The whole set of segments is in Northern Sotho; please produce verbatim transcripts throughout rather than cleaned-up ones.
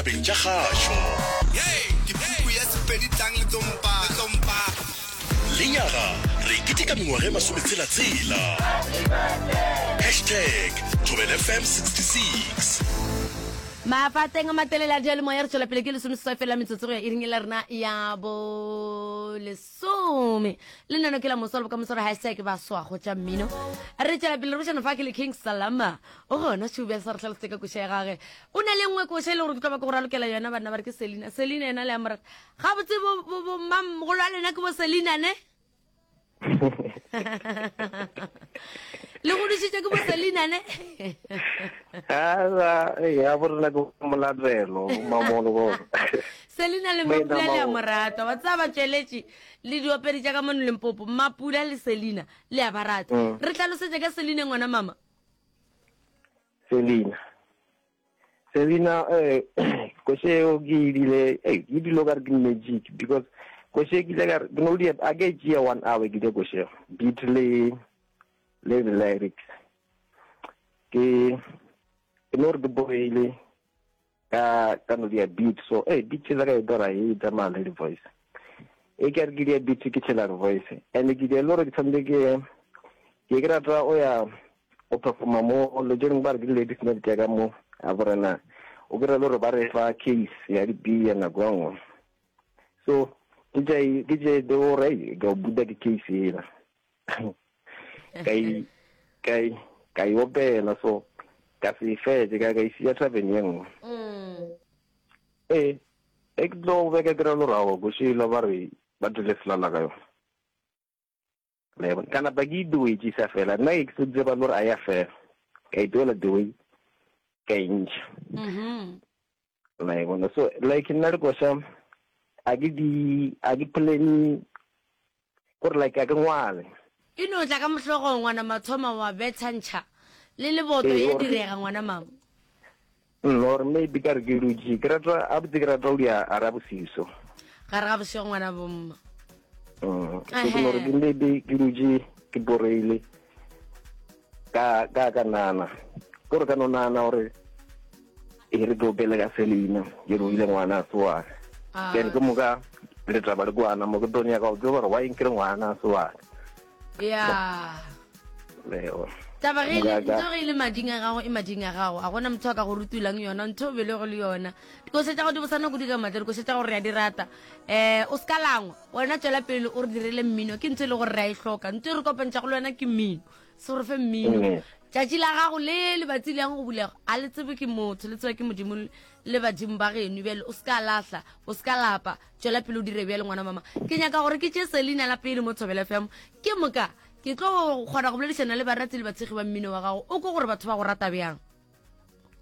Tabeng tša kgašo. Hey, ke puku ya Sepedi tlang le tlo mpa, le tlo mpa. Lenyaga re keteka mengwaga e masometshela-tshela. Hashtag Thobela F M sixty-six. Mafateng a matelele a diyalemoya, re tšwela pele, ke lesomeseswai fela metsotso go ya iring e la rena ya bolesome. Lenano ke la moso le bokamoso, re hashtag baswa go tša mmino. Re tšwela pele re bošana fa ke le King Salama, o gona šube sa re tlhalosetse ka koša ya gage. O na le nngwe koša e le gore ke tlo ba ke go ralokela yona. Banna ba re ke Selina. Selina yena le a morata gabotse. Bomamogolo a lena ke bo Selina ne le godišitše ke bo Selina ne? Ala, ya bo rena ke molatelo, mamolo bo. Selina le Mapula le a morata wa tseba, batšweletši le diopedi tša ka mono Limpopo, Mapula le Selina le a ba rata. Re tlhalosetše ka Selina, ngwana mama. Selina. Selina, eh koše eo ke ile, eh ke dilo ka re ke magic, because koše ke ile ka re ke no di a ke tšea one hour ke di koše beat le le the lyrics. Ke ke no re ke boile ka ka no dia beat, so eh beat tšela ka e dora e tsamaya le di voice. E ke re ke dia beat, ke tšhela di voice, and ke dia le gore ke tshwanetse ke ke ke rata o ya o performa mo lo tše dingwe ba re ke di-ladies night ya ka mo a borena, o kry-a le gore ba re fa case ya di-beer nako e nngwe, so ke tše ke tše de gore ka o buta ke case ela ka e ka e ka e opela, so ka se fetse ka ka isia tavern ye nngwe. Ee, e ke tlo beka kry-a le gore aowa, košela ba re ba dule selala ka yona. La e bona, ka napa ke itoetše sa fela nna ke se tseba le gore a ya fela, ka itoela the way ka e ntšha. La e bona, so like nna le koša a ke di a ke plan gore like a ke ngwale. E no tla ka mohlogong, ngwana mathoma wa bethantšha le leboto. Ee, ya gore- direga, ngwana mama. Mm, or maybe ka re ke dutše ke rata a botse, ke rata go dia a ra bosiso. Gare ga bošego, ngwana bomma. Mm, so ke no re ke maybe ke dutše ke boreile ka ka ka nana kore ka no nana gore e re ke opele ka Selina ke roile ngwana a se wa ka. Ah. Then ke moka letaba le kwana mo ke tlo nyaka go tseba gore why nkere ngwana a se wa ka. Ya. Leo. Taba ge e le- Moka ka- ntho ge e le mading a gago, e mading a gago, a gona motho a ka go rutulang yona. Ntho o belego le yona, dikoša tša go di bosana kudu ka maatla, dikoša tša gore re a di rata. um o se ka langwa wena, tswela pele o re direle mmino, ke ntho e le gore re a e hloka. Ntho e re kopantšhago le wena ke mmino, se re fe mmino. Mm. Tšatši la gago le lebatsi le yang go bulega a le tsebe ke motho, le tseba ke Modimo le badimo ba geno. Bjale o se ka lahla, o se ka lapa, tswela pele o dire bjale, ngwana mama. Ke nyaka gore ke tše Selina la pele mo Thobela F M, ke moka ke tlo kgona go boledišana le barati le batshegi ba mmino wa gago, o ko gore batho ba go rata bjang.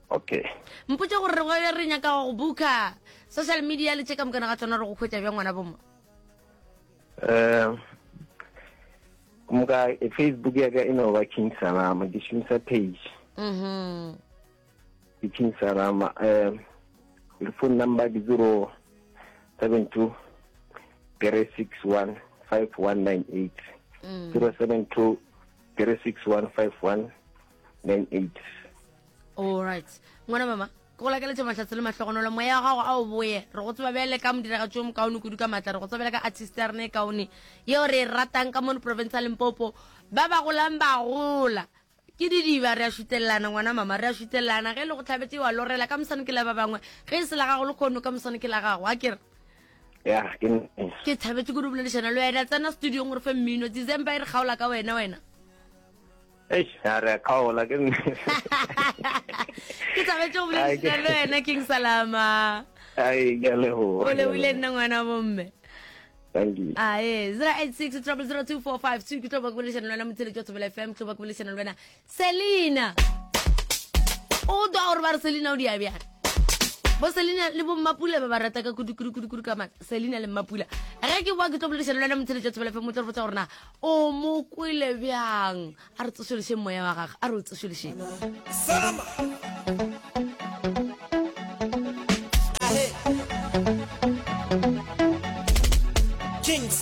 Okay. Mpotse gore re re nyaka go booka social media le tše ka mokana ga tsona, re go hwetša bjang, ngwana bomma? um moka e Facebook ya ka e no ba King Salama, ke šomisa page. Mhm. Ke King Salama. um le phone number ke zero seven two three six one five one nine eight. Mm. zero seven two three six one five one nine eight. Alright, ngwana mama, ke go lakeletša mahlatse le mahlogonolo, moya wa gago a o boye. Re go tseba bjale ka modiragatši o mokaone kudu ka maatla, re go tseba bjale ka artist ya rena e kaone yeo re e ratang ka mono province ya Limpopo. Ba ba golang ba gola ke didiba, re a šutelelana, ngwana mama, re a šutelelana. Ge e le go tlhabetse wa lorela ka mosane ke la ba bangwe, ge e se la gago le kgono ka mosane ke la gago, a kere? Ya, ke nnete. Ke thabetse kudu boledišana le wena. Tsena studiong gore fe mmino, December e re kgaola ka wena, wena. Eish, a re a kgaola, ke nnete. Ke thabetse go boledišana le wena, King Salama. Ai, ke a leboga. O lebile nna, ngwana bomme. Thank you. Ae, zero eight six zero zero two four five two, ke tlo ba ke boledišana le wena, motheletši wa Thobela F M. Ke tlo ba ke boledišana le wena, Selina. O twa gore ba re Selina o dia bjang? Bo Selina le bo Mmapula ba ba rata ka kudu kudu kudu kudu ka matla, Selina le Mmapula. Ge ke boa ke tlo boledišana le wena, motheletši wa Thobela F M, o tlo re botsa gore na o mo kwele bjang. A re tsošološeng moya wa gage, a re o tsošološeng. Salama.